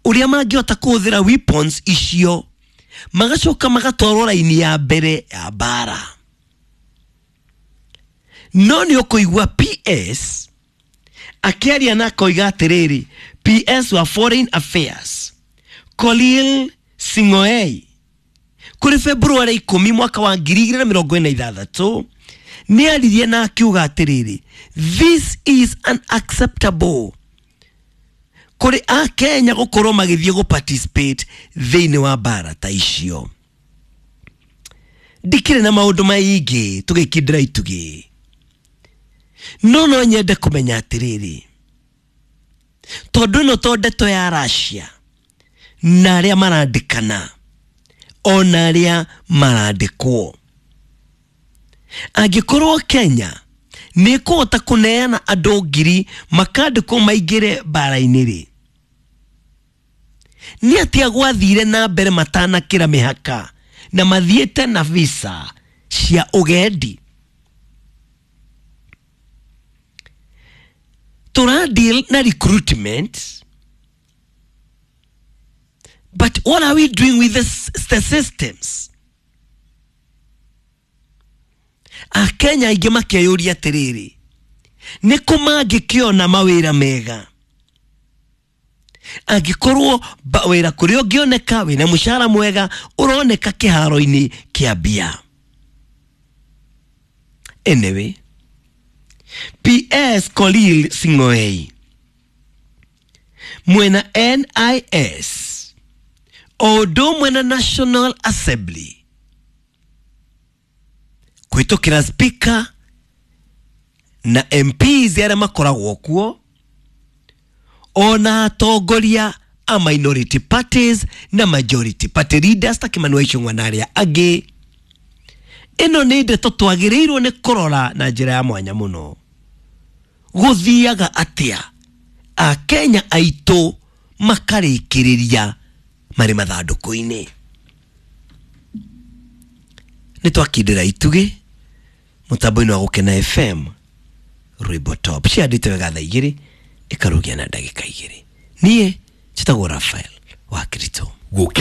Ũrĩa mangĩhota kũhũthĩra weapons icio, magacoka magatwarwo raini ya mbere ya mbara. No nĩ ũkũigua PS akĩaria na akoiga atĩrĩrĩ, PS wa Foreign Affairs Korir Sing'oei, kũrĩ February 10 mwaka wa 2026, nĩ aririe na akiuga atĩrĩrĩ, "This is unacceptable," kũrĩ akenya gũkorwo magĩthiĩ gũ participate thĩinĩ wa mbara ta icio. Ndikĩrĩ na maũndũ maingĩ tũgĩkindĩra itugĩ, no nyende kũmenya atĩrĩrĩ, tondũ ĩno to ndeto ya Russia na arĩa marandĩkana ona arĩa marandĩkwo, angĩkorwo Kenya nĩ ĩkũhota kũneana andũ 1,000 makandĩkwo maingĩre mbara-inĩ rĩ, nĩ atĩa gwathire na mbere matanakĩra mĩhaka na mathiĩte na visa cia ũgendi? Tũra deal na recruitment, but what are we doing with the systems? Akenya aingĩ makeyũria atĩrĩrĩ, nĩ kũ mangĩkĩona mawĩra mega angĩkorwo wĩra kũrĩa ũngĩoneka wĩna mũcara mwega ũroneka kĩharo-inĩ kĩa mbia? Anyway, PS Korir Sing'oei mwena NIS o ũndũ ũmwe na National Assembly kũhĩtũkĩra speaker na MPs arĩa makoragwo kuo, ona atongoria a minority parties na majority party leaders ta Kimani wa Ichung'wa na arĩa angĩ, ĩno nĩ ndeto twagĩrĩirwo nĩ kũrora na njĩra ya mwanya mũno. Gũthiaga atĩa akenya aitũ makarĩkĩrĩria marĩ mathandũkũ-inĩ? Nĩ twakindĩra itugĩ mũtambo-inĩ wa Gũkena FM, rwĩmbo top ciandĩte wega, thaa 2 ĩkarũgia na ndagĩka 2. Niĩ njĩtagwo Rafael wa Kirito. Gũkena.